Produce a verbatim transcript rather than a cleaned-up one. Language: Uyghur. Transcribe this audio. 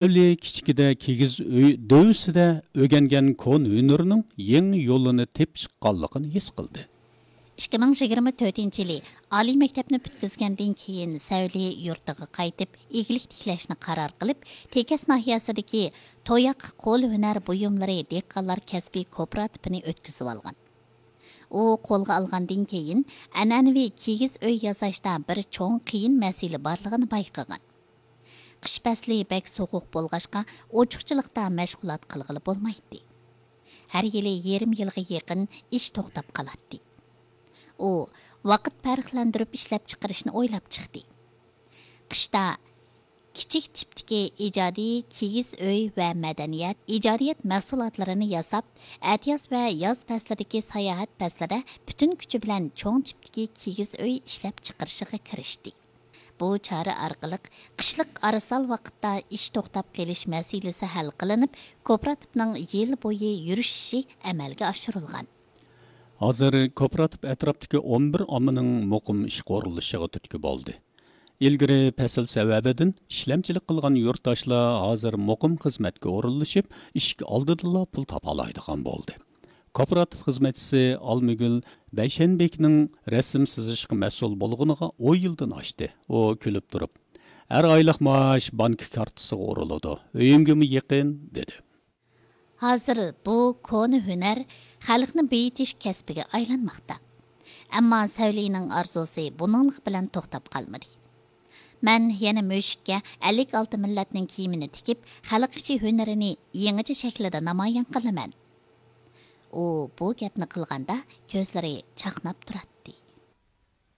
سەۋلى كىچىكىدە كىگىز ئۆي دۆۋىسىدە ئۆگەنگەن كونا ھۈنىرىنىڭ يېڭى يولىنى تېپىشقانلىقىنى ھېس قىلدى. ئىككى مىڭ يىگىرمە تۆتىنچى يىلى ئالىي مەكتەپنى پۈتكۈزگەندىن كېيىن، سەۋلى يۇرتىغا قايتىپ، ئىگىلىك تىكلەشنى قارار قىلىپ، تېكەس ناھىيەسىدىكى توياق قول ھۈنەر بۇيۇملىرى دېھقانلار كەسپىي كوپىراتىپىنى ئۆتكۈزۈۋالغان. ئۇ قولغا ئالغاندىن كېيىن، ئەنئەنىۋى كىگىز ئۆي ياساشتا بىر چوڭ قىيىن مەسىلە بارلىقىنى بايقىغان. قىش پەسلى بەك سوغۇق بولغاچقا، ئوچۇقچىلىقتا مەشغۇلات قىلغىلى بولمايتتى. ھەر يىلى يېرىم يىلغا يېقىن ئىش توختاپ قالاتتى. ئۇ ۋاقىت پەرقلەندۈرۈپ ئىشلەپچىقىرىشنى ئويلاپ چىقتى. قىشتا كىچىك تىپتىكى ئىجادىي كىگىز ئۆي ۋە مەدەنىيەت، ئىجادىيەت مەھسۇلاتلىرىنى ياساپ، ئەتىياز ۋە ياز پەسلىدىكى ساياھەت پەسلىدە پۈتۈن كۈچى بىلەن چوڭ تىپتىكى كىگىز ئۆي ئىشلەپچىقىرىشىغا كىرىشتى. بۇ چارە ئارقىلىق قىشلىق ئارىسال ۋاقىتتا ئىش توختاپ قېلىش مەسىلىسى ھەل قىلىنىپ، كوپىراتىپنىڭ يىل بويى يۈرۈشۈشى ئەمەلگە ئاشۇرۇلغان. ھازىر كوپىراتىپ ئەتراپتىكى ئون بىر ئاممىنىڭ مۇقىم ئىشقا ئورۇنلىشىشىغا تۈرتكە بولدى. ئىلگىرى پەسىل سەۋەبىدىن ئىشلەمچىلىك قىلغان يۇرتداشلار ھازىر مۇقىم خىزمەتكە ئورۇنلىشىپ، ئىشىك ئالدىدىلا پۇل تاپالايدىغان بولدى. كوپىراتىپ خىزمەتچىسى ئالمىگۈل بەيشەنبىكنىڭ رەسىم سىزىشقا مەسئۇل بولغىنىغا ئون يىلدىن ئاشتى. ئۇ كۈلۈپ تۇرۇپ، ھەر ئايلىق مائاش بانكا كارتىسىغا ئۇرۇلىدۇ، ئۆيۈمگىمۇ يېقىن، دېدى. ھازىر بۇ كونا ھۈنەر خەلقنى بېيىتىش كەسپىگە ئايلانماقتا. ئەمما سەۋلىنىڭ ئارزۇسى بۇنىڭلىق بىلەن توختاپ قالمىدى. مەن يەنە مۈشۈككە ئەللىك ئالتە مىللەتنىڭ كىيىمىنى تىكىپ، خەلق ئىچى ھۈنىرىنى يېڭىچە شەكىلدە نامايان قىلىمەن. ئۇ بۇ گەپنى قىلغاندا، كۆزلىرى چاقناپ تۇراتتى.